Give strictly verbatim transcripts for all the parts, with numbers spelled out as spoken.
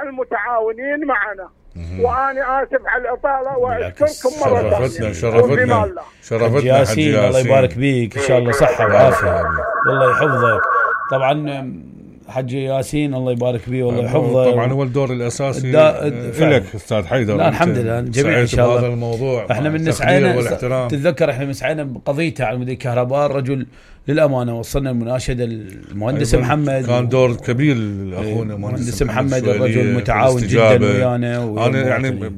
المتعاونين معنا. وانا اسف على الاطاله واشكركم مره ثانيه. شرفتنا شرفتنا حج ياسين، الله يبارك بيك، ان شاء الله صحه وعافيه، والله يحفظك. طبعا حج ياسين الله يبارك بيه والله يحفظه، طبعا هو الدور الاساسي لك استاذ حيدر. لا الحمد لله جميل ان شاء الله. هذا الموضوع احنا من نسعينا، تتذكر احنا من سعينا بقضيته على مدير الكهرباء، الرجل للامانه وصلنا المناشده المهندس محمد، كان دور كبير لاخونا المهندس محمد، الرجل متعاون جدا ويانا. انا يعني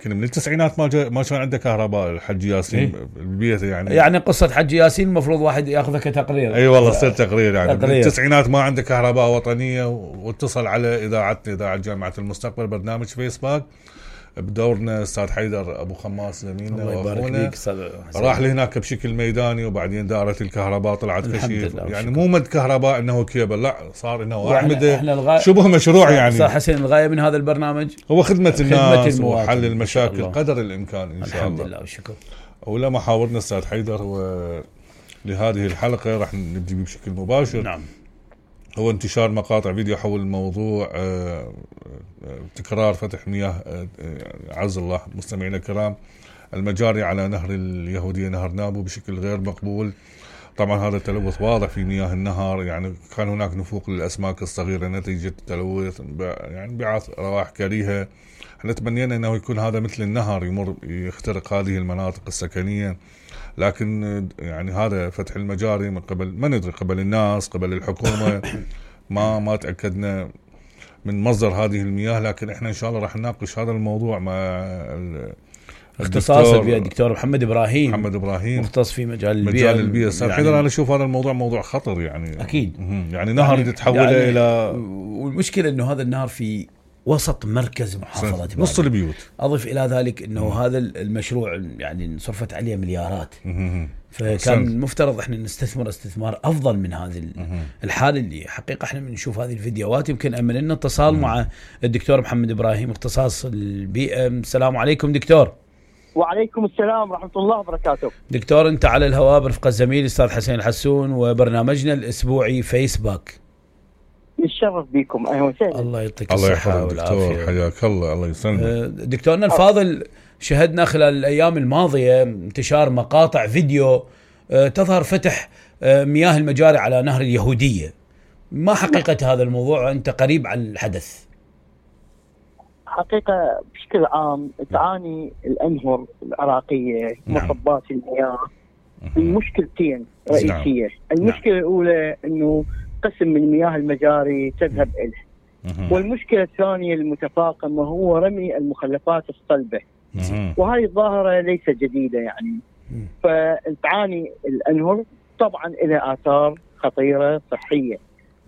كنا من التسعينات ما جا ما كان عنده كهرباء الحج ياسين إيه؟ بالبيت يعني يعني قصه حج ياسين المفروض واحد ياخذها كتقرير. اي أيوة والله صار تقرير يعني تقرير. من التسعينات ما عنده كهرباء وطنيه، واتصل على اذاعتنا اذاعه جامعه المستقبل برنامج فيسبوك بدورنا استاذ حيدر ابو خماس زميلنا واخونا، راح لهناك بشكل ميداني، وبعدين دارت الكهرباء طلعت كشيف يعني مو مد كهرباء انه كيبل، لا صار انه اعمده شبه مشروع يعني. صار حسين الغايه من هذا البرنامج هو خدمه الناس وحل المشاكل قدر الامكان ان شاء الله. الحمد لله والشكر. ولا محاورنا استاذ حيدر ولهذه الحلقه راح نبدي بشكل مباشر. نعم. هو انتشار مقاطع فيديو حول الموضوع تكرار فتح مياه عز الله مستمعينا الكرام المجاري على نهر اليهودية نهر نابو بشكل غير مقبول. طبعا هذا التلوث واضح في مياه النهر، يعني كان هناك نفوق للأسماك الصغيرة نتيجة التلوث، يعني بعث روائح كريهة. احنا تمنينا انه يكون هذا مثل النهر يمر يخترق هذه المناطق السكنية، لكن يعني هذا فتح المجاري من قبل ما ندري قبل الناس قبل الحكومة ما ما تأكدنا من مصدر هذه المياه، لكن احنا ان شاء الله راح نناقش هذا الموضوع مع اختصاصا بها الدكتور محمد ابراهيم محمد ابراهيم مختص في مجال البيئة. مجال البيئة استاذ يعني حيدر، انا اشوف هذا الموضوع موضوع خطر يعني اكيد يعني نهر يعني يتحول يعني الى، والمشكلة انه هذا النهر في وسط مركز محافظة نص البيوت. اضف الى ذلك انه مم. هذا المشروع يعني صرفت عليه مليارات، مم. فكان المفترض احنا نستثمر استثمار افضل من هذه الحاله اللي حقيقه احنا بنشوف هذه الفيديوهات. يمكن امن لنا اتصال مم. مع الدكتور محمد ابراهيم اختصاص البيئه. السلام عليكم دكتور. وعليكم السلام ورحمه الله وبركاته. دكتور انت على الهواء برفقه الزميل الاستاذ حسين الحسون وبرنامجنا الاسبوعي فيسبوك. نتشرف بكم. اهلا وسهلا. الله يعطيك الله يحفظك دكتور، حياك الله. الله يسلمك دكتورنا الفاضل. شهدنا خلال الايام الماضيه انتشار مقاطع فيديو تظهر فتح مياه المجاري على نهر اليهوديه. ما حقيقه هذا الموضوع؟ انت قريب على الحدث. حقيقه بشكل عام تعاني الانهر العراقيه مصبات المياه من مشكلتين رئيسيه. المشكله الاولى انه قسم من مياه المجاري تذهب إله، والمشكلة الثانية المتفاقمة هو رمي المخلفات الصلبة، وهذه الظاهرة ليست جديدة يعني. فتعاني الأنهر طبعا إلى آثار خطيرة صحية.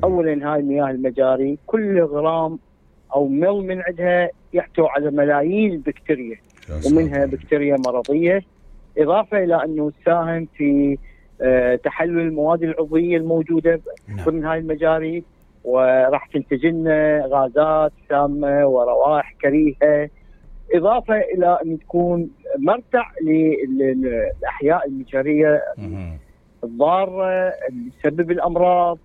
أولا هاي مياه المجاري كل غرام أو مل من عندها يحتوي على ملايين البكتيريا، ومنها بكتيريا مرضية، إضافة إلى أنه تساهم في أه تحلل المواد العضوية الموجودة ضمن هاي المجاري، وراح تنتج لنا غازات سامة وروائح كريهة، إضافة إلى أن تكون مرتع للأحياء المجارية الضارة اللي تسبب الأمراض.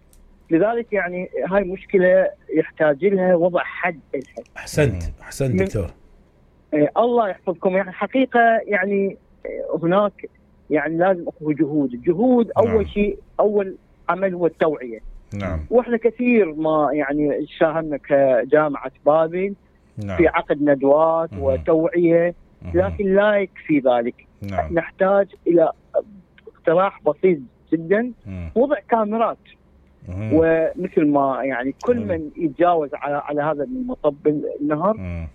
لذلك يعني هاي مشكلة يحتاج لها وضع حد لها. أحسنت أحسنت دكتور. أه الله يحفظكم. يعني حقيقة يعني هناك يعني لازم اكو جهود. الجهود اول نعم. شيء اول عمل هو التوعيه. نعم. واحنا كثير ما يعني ساهمنا كجامعه بابل نعم. في عقد ندوات مم. وتوعيه، لكن لا يكفي ذلك. نعم. نحتاج الى اقتراح بسيط جدا، مم. وضع كاميرات، مم. ومثل ما يعني كل مم. من يتجاوز على على هذا المصب النهر مم.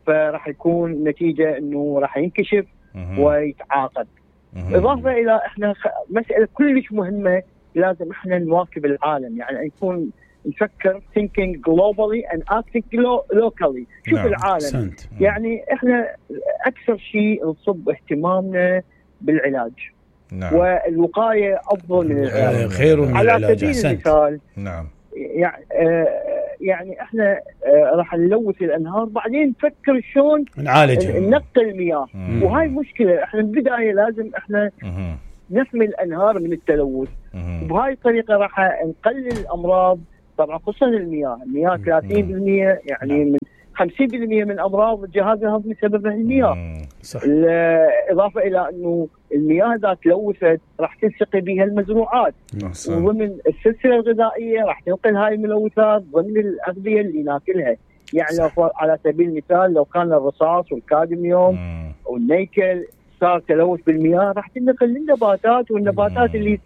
فراح يكون نتيجه انه راح ينكشف مم. ويتعاقب. إضافة إلى إحنا مسألة كلش مهمة، لازم إحنا نواكب العالم، يعني نكون نفكر thinking globally and acting locally. شوف نعم. العالم سنت. يعني إحنا أكثر شيء نصب اهتمامنا بالعلاج نعم. والوقاية أفضل من العلاج، خير من على العلاج. سبيل المثال نعم. يعني آه يعني احنا آه راح نلوث الانهار، بعدين نفكر شلون نعالجها ننقي المياه. مم. وهاي مشكله. احنا بالبدايه لازم احنا مم. نحمي الانهار من التلوث، وبهاي الطريقه راح نقلل الامراض. طبعا خصوصا المياه المياه ثلاثين بالمئة يعني مم. من خمسين بالمئة من امراض الجهاز الهضمي سببها المياه. صح. اضافه الى انه المياه اذا تلوثت راح تلتقي بها المزروعات وضمن السلسله الغذائيه، راح تنقل هاي الملوثات ضمن الاغذيه اللي ناكلها. يعني لو على سبيل المثال لو كان الرصاص والكادميوم مم. والنيكل صار تلوث بالمياه، راح تنقل للنباتات، والنباتات مم. اللي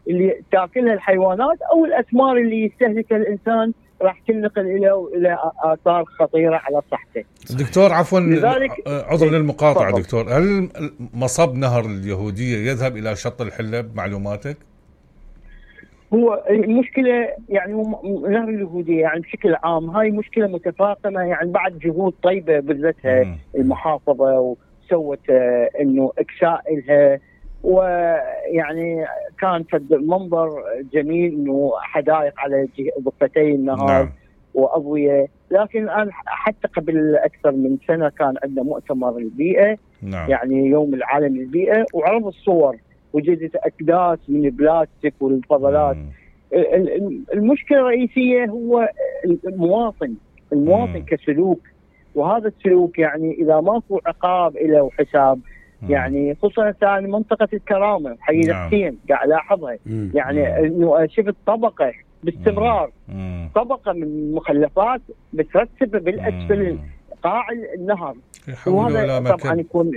اللي تاكلها الحيوانات او الاسمار اللي يستهلكها الانسان راح تنقل الى الى اثار خطيره على صحته. دكتور عفوا عذرا للمقاطعه دكتور، هل مصب نهر اليهوديه يذهب الى شط الحله بمعلوماتك؟ هو المشكله يعني نهر اليهوديه يعني بشكل عام هاي مشكله متفاقمه، يعني بعد جهود طيبه بذلتها المحافظه وسوت انه اكساء لها، ويعني كان فد منظر جميل انه حدائق على ضفتي النهر. نعم. واضويه، لكن الان حتى قبل اكثر من سنه كان عندنا مؤتمر البيئه. نعم. يعني يوم العالمي للبيئه، وعرض الصور وجدت اكداس من البلاستيك والفضلات. المشكله الرئيسيه هو المواطن، المواطن مم. كسلوك، وهذا السلوك يعني اذا ماكو عقاب له وحساب يعني خصوصا ثاني منطقه الكرامه حي الحسين قاعد الاحظها، يعني انه شفت طبقه باستمرار مم. طبقه من المخلفات مترتبه بالاسفل قاع النهر، وهذا طبعا يكون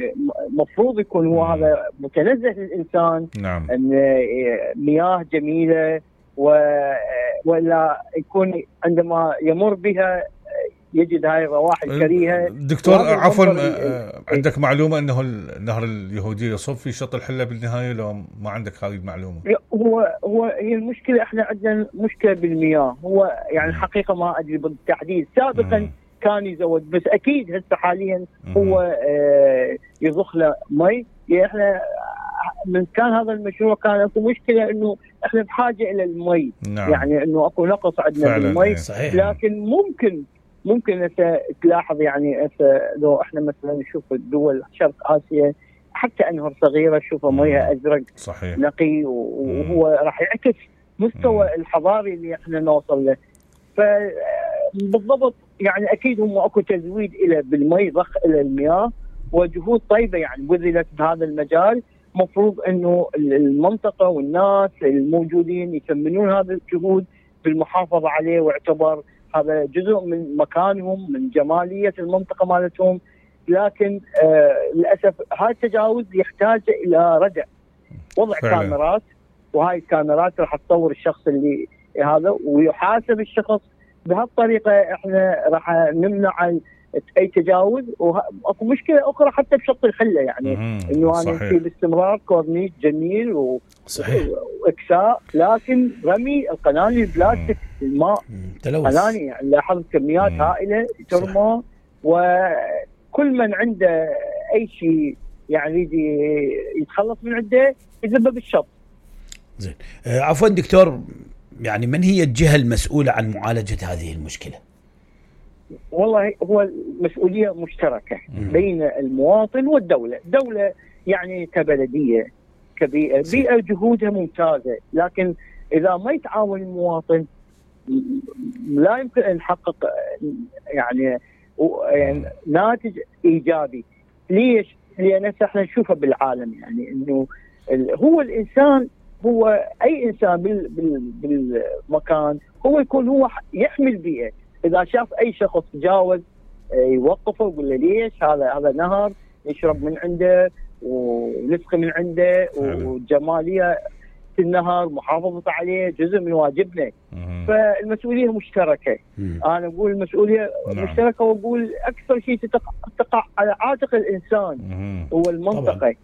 مفروض يكون هو مم. هذا متنزه للانسان. نعم. ان مياه جميله ولا يكون عندما يمر بها يجد هاي الروائح الكريهه. دكتور عفوا عندك معلومه انه النهر اليهوديه يصب في شط الحله بالنهايه، لو ما عندك هذه المعلومه؟ هو هو هي المشكله احنا عندنا مشكله بالمياه، هو يعني الحقيقه ما ادري بالتحديد، سابقا مم. كان يزود، بس اكيد هسه حاليا هو آه يضخ له مي. يعني احنا من كان هذا المشروع كان اكو مشكله انه احنا بحاجه الى المي. نعم. يعني انه اكو نقص عندنا بالمي. صحيح. لكن ممكن ممكن هسه تلاحظ يعني هسه لو احنا مثلا نشوف الدول شرق اسيا حتى انهر صغيره شوفها مياه ازرق صحيح نقي، وهو راح يعكس مستوى مم. الحضاري اللي احنا نوصل له. فبالضبط يعني اكيد هم اكو تزويد الى بالمي، ضخ الى المياه، وجهود طيبه يعني بذلت بهذا المجال. مفروض انه المنطقه والناس الموجودين يثمنون هذه الجهود بالمحافظه عليه، واعتبر هذا جزء من مكانهم، من جماليه المنطقه مالتهم. لكن آه للاسف هذا التجاوز يحتاج الى ردع، وضع فعلا. كاميرات، وهاي الكاميرات راح تطور الشخص اللي هذا ويحاسب الشخص. بهالطريقه احنا راح نمنع اي تجاوز. واكو مشكله اخرى حتى بشط الحله، يعني انه انا في باستمرار كورنيش جميل و... واكساء، لكن رمي القناني البلاستيك الماء قناني، يعني لاحظت كميات مم. هائله ترمى، وكل من عنده اي شيء يعني يجي يتخلص من عنده يذبه بالشط. زين. آه عفوا دكتور، يعني من هي الجهه المسؤوله عن معالجه هذه المشكله؟ والله هو مسؤولية مشتركة مم. بين المواطن والدولة. الدولة يعني كبلدية كبيئة، بيئة جهودها ممتازة، لكن إذا ما يتعاون المواطن لا يمكن أن نحقق يعني ناتج إيجابي. ليش؟ لأن احنا نشوفه بالعالم، يعني إنه هو الإنسان، هو أي إنسان بالمكان هو يكون هو يحمي البيئة. إذا شاف أي شخص تجاوز يوقفه ويقول له ليش، هذا هذا نهر يشرب من عنده ونسقي من عنده، وجمالية النهر محافظة عليه جزء من واجبنا. مم. فالمسؤولية مشتركة. مم. أنا أقول المسؤولية نعم. مشتركة، وأقول أكثر شيء تقع على عاتق الإنسان مم. هو المنطقة طبعا.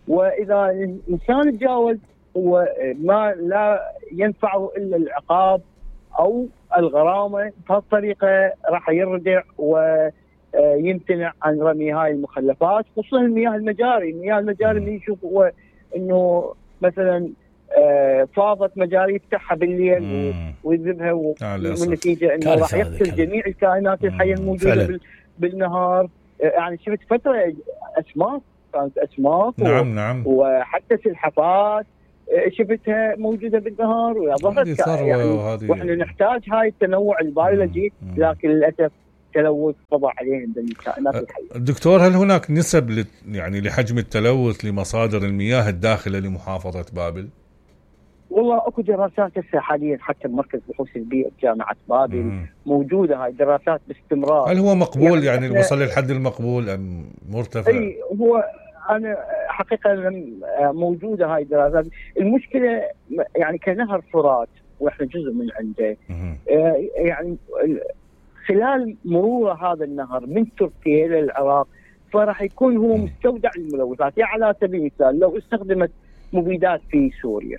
وإذا الإنسان تجاوز هو ما لا ينفعه إلا العقاب أو الغرامة. بهالطريقة راح يردع ويمتنع عن رمي هاي المخلفات، خصوصا المياه المجاري. المياه المجاري اللي يشوف هو إنه مثلا فاضت مجاري يفتحها بالليل ويذبها، والنتيجة إنه راح يقتل جميع الكائنات الحية الموجودة بالنهار. يعني شفت فترة أسماك، كانت أسماك نعم و... نعم وحتى سلحفات شفتها موجودة بالنهار وظهرت يعني، واحنا نحتاج هاي التنوع البيولوجي، لكن للأسف التلوث قضى عليهم بالكائنات الحية. دكتور، هل هناك نسب يعني لحجم التلوث لمصادر المياه الداخلة لمحافظة بابل؟ والله اكو دراسات هسه حاليا حتى بمركز بحوث البيئة بجامعة بابل مم. موجودة هاي الدراسات باستمرار. هل هو مقبول يعني, يعني وصل للحد المقبول ام مرتفع؟ اي هو انا حقيقة موجودة هاي الدراسات. المشكلة يعني كنهر فرات واحنا جزء من عنده يعني خلال مرور هذا النهر من تركيا الى العراق فراح يكون هو مستودع للملوثات. يعني على سبيل المثال لو استخدمت مبيدات في سوريا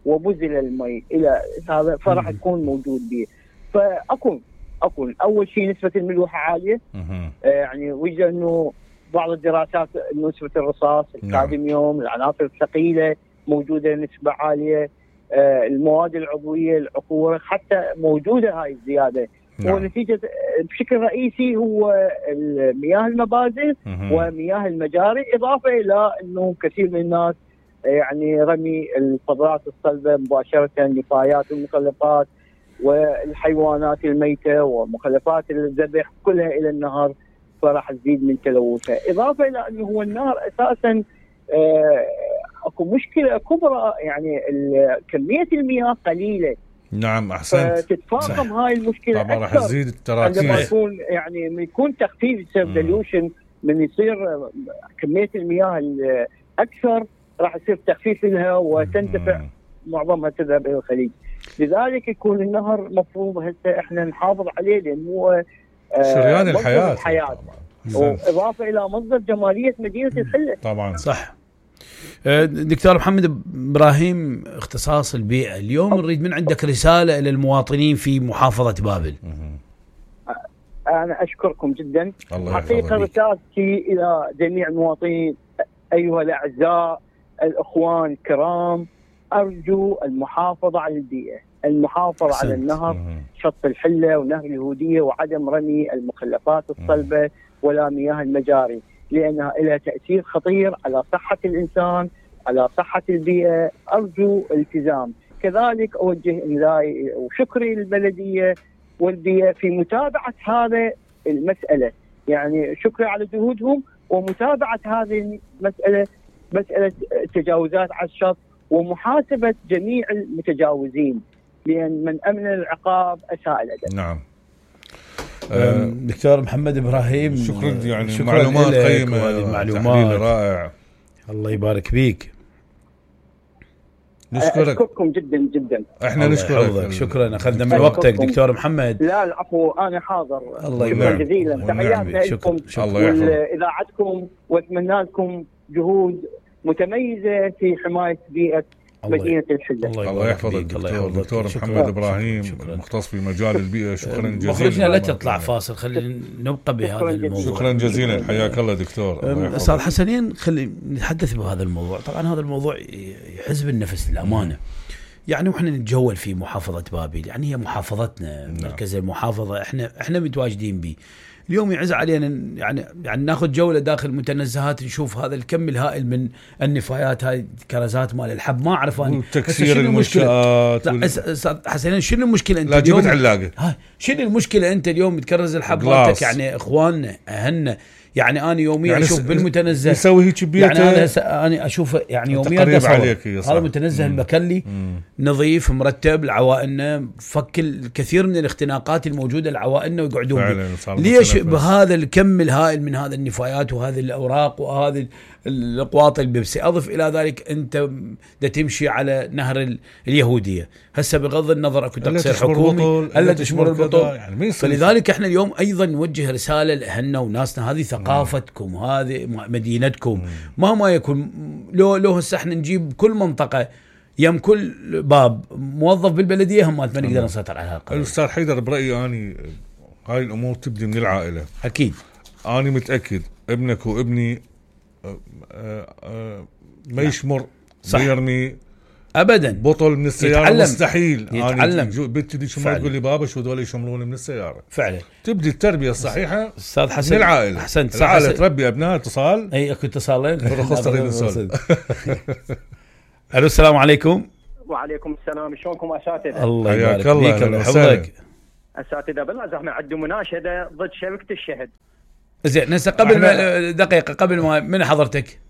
وبذل المي الى هذا فراح يكون موجود به. فاكون اكون اول شيء نسبه الملوحه عاليه آه يعني وجد انه بعض الدراسات انه نسبه الرصاص الكادميوم العناصر الثقيله موجوده نسبه عاليه آه المواد العضويه العقور حتى موجوده هاي الزياده. نعم. ونتيجه بشكل رئيسي هو مياه المبادئ ومياه المجاري اضافه الى انه كثير من الناس يعني رمي القدرات الصلبه مباشره النفايات والمخلفات والحيوانات الميته ومخلفات الذبح كلها الى النهر فراح تزيد من تلوثها. اضافه الى انه هو النهر اساسا آه اكو مشكله كبرى يعني كميه المياه قليله. نعم احسنت. فتتفاقم هاي المشكله طبعا راح تزيد التراكم عندما يكون يعني من يكون تخفيف سيرفيليوشن من يصير كميه المياه اكثر راح يصير تخفيف لها وتندفع معظمها تذهب الى الخليج. لذلك يكون النهر مفروض هسه احنا نحافظ عليه لانه هو شريان الحياه, الحياة. واضافه الى مصدر جماليه مدينه الحله. طبعا صح. دكتور محمد ابراهيم اختصاص البيئه، اليوم نريد من عندك رساله الى المواطنين في محافظه بابل. انا اشكركم جدا. حقيقه رسالتي الى جميع المواطنين ايها الاعزاء الاخوان الكرام ارجو المحافظه على البيئه، المحافظه على النهر شط الحله ونهر اليهوديه وعدم رمي المخلفات الصلبه ولا مياه المجاري لانها لها تاثير خطير على صحه الانسان على صحه البيئه. ارجو التزام. كذلك اوجه املائي وشكري للبلديه والبيئه في متابعه هذه المساله، يعني شكري على جهودهم ومتابعه هذه المساله مساله تجاوزات على الشط ومحاسبه جميع المتجاوزين لان من امن العقاب اساء الادب. نعم. أه دكتور محمد ابراهيم شكرا يعني شكرا معلومات قيمه معلومات رائع. الله يبارك فيك. نشكرك. اشكركم جدا جدا. احنا نشكرك. شكرا اخذنا من وقتك دكتور محمد. لا العفو انا حاضر. الله يبارك جزيلا. تحياتنا لكم ولاذاعتكم واتمنى لكم جهود متميزه في حمايه بيئه مدينة الحلة. الله يحفظك دكتور, دكتور محمد إبراهيم المختص في مجال البيئة. شكرا جزيلا. مخرجنا لا تطلع فاصل، خلينا نبقى بهذا الموضوع. شكرا جزيلا حياك الله دكتور. أستاذ حسنين خلينا نتحدث بهذا الموضوع. طبعا هذا الموضوع يحز بالنفس للأمانة. يعني وإحنا نتجول في محافظة بابل، يعني هي محافظتنا مركز المحافظة احنا احنا متواجدين به. اليوم يعز علينا يعني يعني ناخذ جوله داخل متنزهات نشوف هذا الكم الهائل من النفايات، هاي كرزات مال الحب ما اعرف انا تكسير المنشآت. لا حسنا شنو المشكله انت لا جبت علاقه؟ هاي شنو المشكله انت اليوم تكرز الحب مالتك؟ يعني اخواننا اهلنا يعني انا يوميا يعني اشوف بالمتنزه يسوي هيك بيته. يعني انا انا اشوف يعني يوميا هذا متنزه المكلي نظيف مرتب لعوائلنا، فك الكثير من الاختناقات الموجوده لعوائلنا ويقعدون. ليش بهذا الكم الهائل من هذا النفايات وهذه الاوراق وهذه الاقواط البيبسي؟ اضف الى ذلك انت دا تمشي على نهر اليهوديه هسه بغض النظر اكو تقصير حكومي الا تشمر البطول. يعني فلذلك احنا اليوم ايضا نوجه رساله لاهلنا وناسنا، هذه ثقافتكم هذه مدينتكم مهما يكون. لو لو هسه احنا نجيب كل منطقه يم كل باب موظف بالبلديه هم ما نقدر نسيطر على هالقضيه. الاستاذ حيدر برايي اني هاي الامور تبدي من العائله. اكيد انا متاكد ابنك وابني ما يشمر يرمي ابدا بطل من السياره يتعلم. مستحيل. يتعلم. انا بنتي دي شمر تقول لي بابا شو دول يشمرون من السياره. فعلا تبدي التربيه الصحيحه استاذ حسن من العائله. احسنت. العائله تربي ابناء. اتصال اي اكو اتصالين رخص تريد نسولف. الو السلام عليكم. وعليكم السلام. شلونكم اساتذه؟ الله يبارك فيك. الله يحفظك. اساتذه بالله احنا عندنا مناشده ضد شركه الشهد. زين هسه قبل ما دقيقه قبل ما من حضرتك؟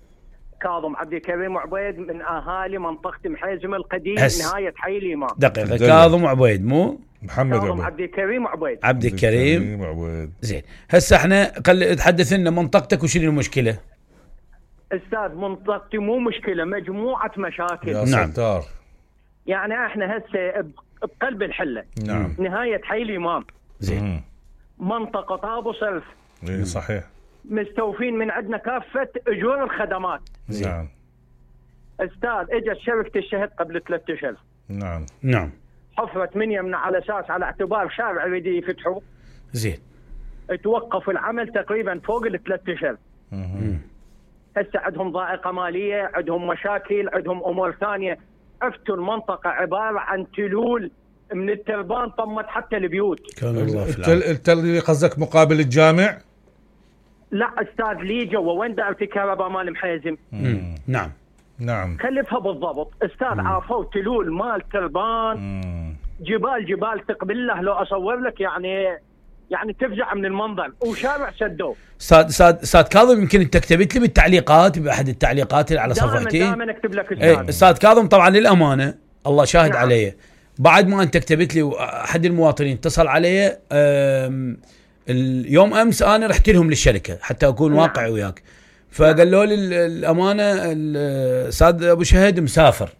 كاظم عبد الكريم وعبيد من اهالي منطقه محيزم القديم نهايه حي الامام. دقيقه كاظم وعبيد مو محمد كاظم عبد الكريم وعبيد. عبد الكريم وعبيد. زين هسه احنا خل تحدث لنا منطقتك وشنو المشكله؟ استاذ منطقتي مو مشكله، مجموعه مشاكل. يا نعم. ستار. يعني احنا هسه بقلب الحله. نعم. نهايه حي الامام. زين. منطقه طابو صرف. اي صحيح. مستوفين من عندنا كافه اجور الخدمات. نعم. استاذ اجت شركه الشهد قبل ثلاثة اشهر. نعم. نعم. حفرت من يمنا على اساس على اعتبار شارع يريد يفتحوا. زين. توقف العمل تقريبا فوق الثلاث اشهر. هسه عندهم ضائقه ماليه، عندهم مشاكل، عندهم امور ثانيه. عفتوا المنطقه عباره عن تلول من التربان طمت حتى البيوت. كان الله في التل التل اللي قصدك مقابل الجامع؟ لا استاذ لي جوا وين دائره الكهرباء مال محيزم. نعم. نعم. كلفها بالضبط استاذ. عافوا تلول مال تربان. مم. جبال جبال تقبل له لو اصور لك يعني يعني تفزع من المنظر، وشارع سدوه. استاذ استاذ استاذ كاظم يمكن انت كتبت لي بالتعليقات باحد التعليقات اللي على صفحتي. دائما اكتب لك استاذ. ايه استاذ كاظم طبعا للامانه الله شاهد. نعم. علي بعد ما انت كتبت لي احد المواطنين اتصل علي اليوم امس انا رحت لهم للشركه حتى اكون نعم. واقعي وياك. فقالوا لي الامانه الاستاذ ابو شهد مسافر.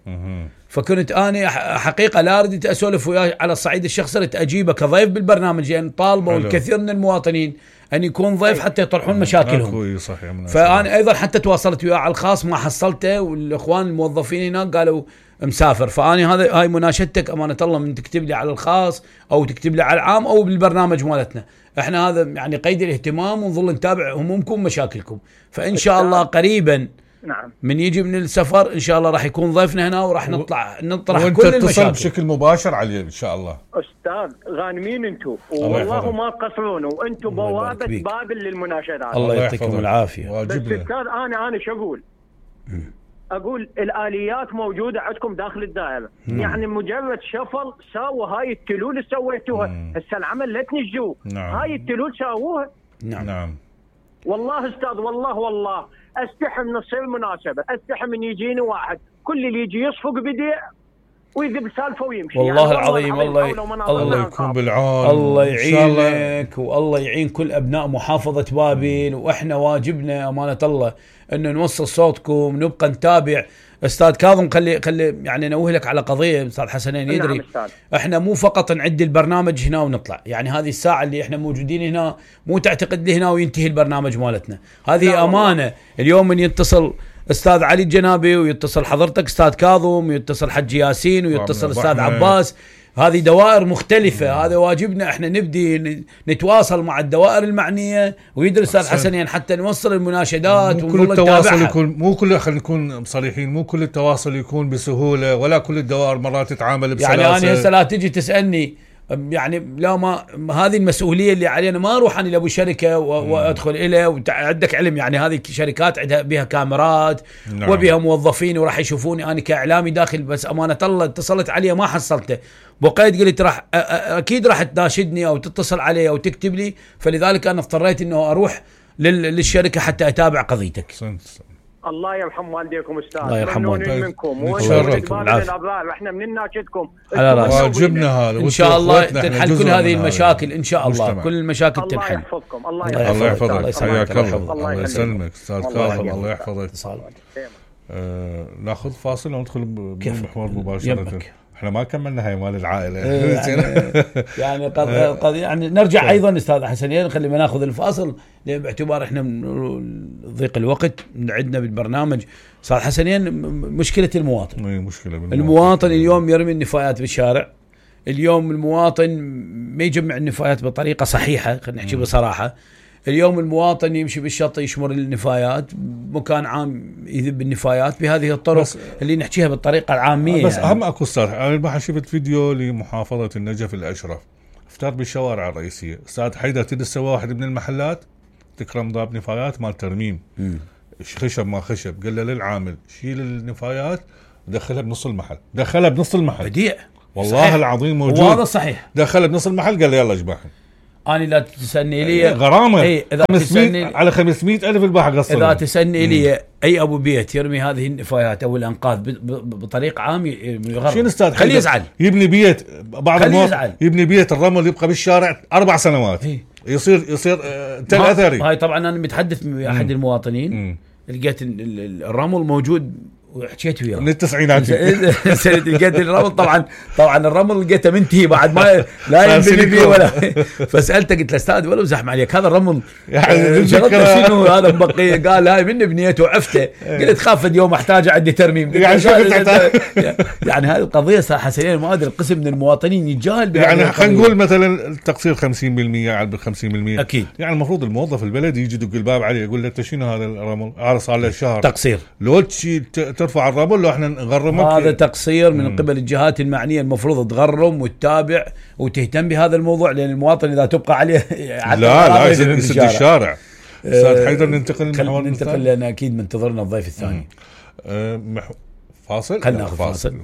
فكنت انا حقيقه لا اريد اسولف وياه على الصعيد الشخصي، اريد اجيبه كضيف بالبرنامج لان يعني طالبوا الكثير من المواطنين ان يكون ضيف حتى يطرحون مشاكلهم. فانا ايضا حتى تواصلت وياه على الخاص ما حصلته، والاخوان الموظفين هناك قالوا مسافر. فاني هذا هاي مناشدتك امانه الله من تكتب لي على الخاص او تكتب لي على العام او بالبرنامج مالتنا. احنا هذا يعني قيد الاهتمام ونظل نتابع همومكم ومشاكلكم. فان شاء الله قريبا نعم من يجي من السفر ان شاء الله راح يكون ضيفنا هنا وراح نطلع نطرح كل المشاكل. وانت تتصل بشكل مباشر عليه ان شاء الله. استاذ غانمين انتم والله ما تقصرون، وانتم بوابه بابل للمناشدات. الله يعطيكم العافيه. بس استاذ انا انا شو اقول؟ اقول الاليات موجوده عندكم داخل الدائره. مم. يعني مجرد شفل ساووا هاي التلول اللي سويتوها. هسه العمل لا تنجوا. نعم. هاي التلول ساووها. نعم نعم والله استاذ والله والله استحي من تصير مناسبه، استحي من يجيني واحد كل اللي يجي يصفق بديع ويذب سالفه ويمشي. والله يعني العظيم والله الله يكون بالعون. الله يعينك والله يعين كل ابناء محافظه بابل. واحنا واجبنا امانه الله انه نوصل صوتكم، نبقى نتابع. استاذ كاظم خلي خلي يعني نوه لك على قضيه استاذ حسنين يدري. نعم احنا مو فقط نعد البرنامج هنا ونطلع، يعني هذه الساعه اللي احنا موجودين هنا مو تعتقد لي هنا وينتهي البرنامج مالتنا. هذه امانه والله. اليوم من يتصل استاذ علي الجنابي ويتصل حضرتك استاذ كاظم ويتصل حج ياسين ويتصل استاذ عباس، هذه دوائر مختلفة. هذا واجبنا احنا نبدي نتواصل مع الدوائر المعنية ويدرس استاذ حسنين حتى نوصل المناشدات. مو كل التواصل يكون مو كل خلينا نكون صريحين مو كل التواصل يكون بسهولة، ولا كل الدوائر مرات تتعامل بسلاسة. يعني انا هسه لا تجي تسألني يعني لا ما هذه المسؤولية اللي علينا، ما اروح انا لابو شركة وادخل إليه. وعندك علم يعني هذه شركات عندها بها كاميرات. نعم. وبها موظفين وراح يشوفوني انا كاعلامي داخل. بس امانة الله اتصلت عليه ما حصلته، بقيت قلت راح اكيد راح تناشدني او تتصل علي او تكتب لي، فلذلك انا اضطريت انه اروح للشركه حتى اتابع قضيتك. الله يرحم والديكم استاذ. الله يرحم والديكم منكم ويرحمكم الابرار. احنا من ناشدكم على واجبنا هذا ان شاء الله تنحل كل هذه المشاكل ان شاء الله. كل المشاكل تنحل. الله يحفظكم. الله يحفظك. حياك الله. الله يسلمك استاذ كاظم. الله يحفظك. آه ناخذ فاصل وندخل بمحور مباشره. احنا ما كملنا هاي مال العائله. يعني يعني قد قد يعني نرجع ايضا استاذ حسنين خلي ما ناخذ الفاصل باعتبار احنا من ضيق الوقت عندنا بالبرنامج. استاذ حسنين مشكله المواطن. مشكله بالمواطن. المواطن اليوم يرمي النفايات بالشارع. اليوم المواطن ما يجمع النفايات بطريقه صحيحه، خلينا نحكي بصراحه. اليوم المواطن يمشي بالشط يشمر النفايات، مكان عام يذب النفايات بهذه الطرق اللي نحكيها بالطريقه العاميه. بس يعني. اهم اكو صراحه انا البارحه شفت فيديو لمحافظه النجف الاشرف افتر بالشوارع الرئيسيه. استاذ حيدر تدس واحد من المحلات تكرم ضاب نفايات مال ترميم. م. خشب ما خشب، قال له للعامل شيل النفايات ودخلها بنص المحل، دخلها بنص المحل. بديع والله صحيح. العظيم موجود. وهذا صحيح. دخل بنص المحل قال لي يلا اجبحهم. أنا لا تسألني لي غرامة اي اذا تسألني على خمسمائة ألف الباحة قصر. اذا تسألني لي اي ابو بيت يرمي هذه النفايات او الانقاذ بطريقه عام يغرم. شنو استاذ خليه يزعل. يبني بيت بعض المواطنين يبني بيت الرمل يبقى بالشارع اربع سنوات. هي. يصير يصير تل اثري. هاي طبعا انا متحدث مع احد المواطنين لقيت الرمل موجود وحكيت وياه من التسعينات. سنة لقيت الرمل طبعا طبعا الرمل لقيته منتهي بعد ما لا ينبني فيه ولا. فسالته قلت له استاذ ولو زحم عليك هذا الرمل يعني شنو هذا مبقي؟ قال هاي من بنيته وعفته. قلت خاف اليوم احتاجه عندي ترميم. يعني يعني هذه القضيه صراحه سنين ما ادري القسم من المواطنين يتجاهل. يعني خلينا نقول مثلا التقصير خمسين بالمئة على خمسين بالمئة اكيد. يعني المفروض الموظف البلدي يجي يدق الباب عليه يقول له انت شنو هذا الرمل؟ هذا صار له شهر تقصير. لو تشي ترفع الرمل لو احنا نغرمك. هذا تقصير من قبل الجهات المعنيه، المفروض تغرم وتتابع وتهتم بهذا الموضوع، لان المواطن اذا تبقى عليه لا لا يسد الشارع. استاذ حيدر ننتقل خلينا ننتقل لان اكيد منتظرنا الضيف الثاني. أه فاصل. خلينا ناخذ فاصل.